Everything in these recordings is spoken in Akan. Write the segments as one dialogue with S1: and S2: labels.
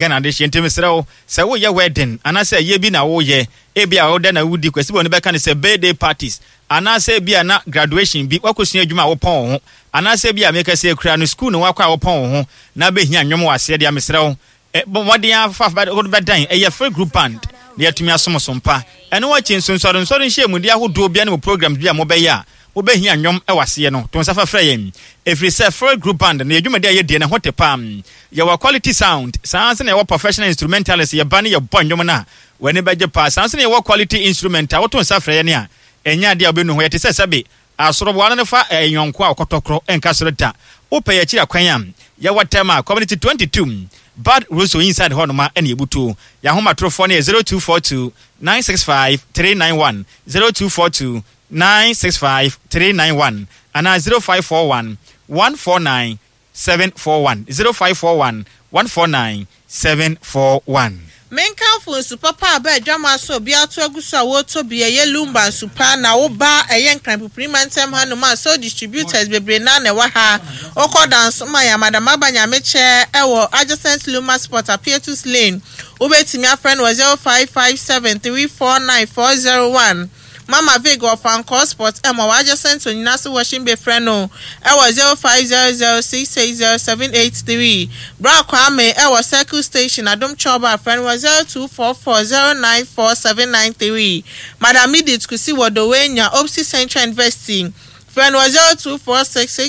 S1: Ghana adehyeɛ nti mesrɛ wo sɛ woyɛ wedding anaasɛ ayie bi na woyɛ ebia woda na wodi Kwasi Bɔne bɛka no sɛ birthday parties anaasɛ ebia na graduation bi woakɔsua adwuma a wopɔn wo ho anaasɛ ebia meka sɛ kura no school na woakɔ a wopɔn wo ho na bɛhia nnwom wɔ aseɛ deɛ mesrɛ wo bɔ mmɔden ara fa wode bɛdan ɛyɛ free group band na yɛatumi asom so mpa. Ɛno akyi nso nsɔrensɔre nhyiamudie ahodoɔ bia ne mo programs bi a mobɛyɛ a mobɛhia nnwom wɔ aseɛ no, to nsa fa frɛ yɛn. Ɛfiri sɛ Free Group Band no yɛ dwumadi a yɛdie no ho te paa. Yɛwɔ quality sound, saa ara nso na yɛwɔ professional instrumentalists, yɛba ne yɛbɔ nnwom no a, w'ani bɛgye paa. Saa ara nso na yɛwɔ quality instrument a woto nsa frɛ yɛn a, ɛnyɛ adeɛ a wobɛnu ho. Yɛte sɛ sɛbe asoroboa no no fa yɔnko a ɔkɔtɔkorɔ nka soro da. Wopɛ yɛn akyiri akwan a, yɛwɔ Tema, Community 22, Bad Russo inside hɔnom a ɛna yɛbutuo. Yɛn ahomatorofoɔ no yɛ 0242 965 391, 0242 965 391 anaa 0541 149 741, 0541 149 741.
S2: Menkamfo nsu papa a aba adwamaa so a obiara to agu so a wɔretɔ bi, ɛyɛ Lumba nsu pa, na wo ba ɛyɛ Nkran Pupuri mantam hanom a Soul Distributors bebree no ara na ɛwɔ ha. Wokɔ Dansoman, Amadama Aba Nyamekyɛ ɛwɔ adjacent Luma Sport, Apietus Lane. Wobɛtumi afrɛ no wɔ 0557 349 401. Mama Vig wɔ Fankor Sport M wɔ adjacent Onyinase Washing Bay frɛ no wɔ 0500660783. Bra Kwame wɔ Circle Station Adom Chɔba frɛ no wɔ 0244094793. Madam Edith Kusi wɔ Dowenya Opsi Central University frɛ no wɔ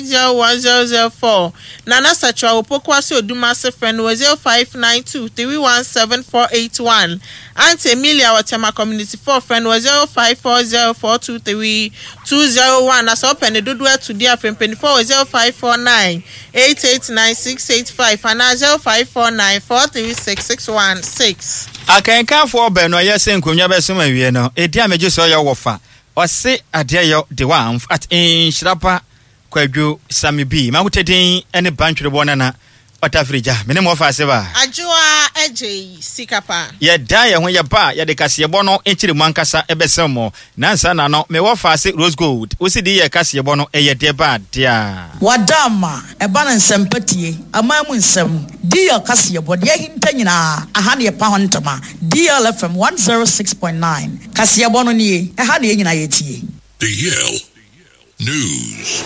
S2: 0246601004. Nana Sakyera wɔ Pokuase Odumase frɛ no wɔ 0592317481. Aunty Emilia wɔ Tema Community 4 frɛ no wɔ 0540423201 na sɛ wopɛ ne dodoɔ atu deɛ a frɛ mpaninfoɔ wɔ 0549889685 anaa 0549436616.
S1: Akenkanfoɔ baanu a yɛsɛ nkonnwa bɛsom awie no, edin a megye so yɛ wɔfa Ɔse adeɛ yɔ de wa amf at nhyira pa Kwadwo Sammy B Mankutɛ din ne Bantwerebɔ Nana Ɔtafiri gya me ne mo ɔfa ase ba.
S2: Adwoa Adjei sika pa.
S1: Yɛdan yɛn ho yɛba a yɛde kaseɛbɔ no nkyeremu ankasa bɛsɛm mo. Nansa na no me wɔfa ase Rose Gold wo se di yɛ kaseɛbɔ no ɛyɛ deɛ ba dea.
S3: Wada ama ɛba no nsɛmpa tie, aman mu nsɛm, DL kaseɛbɔ, deɛ ahinta nyinaa, aha na yɛpa ho ntoma, DL FM 106.9, kaseɛbɔ no nie, ɛha na yɛn nyinaa yɛtie.
S4: DL News.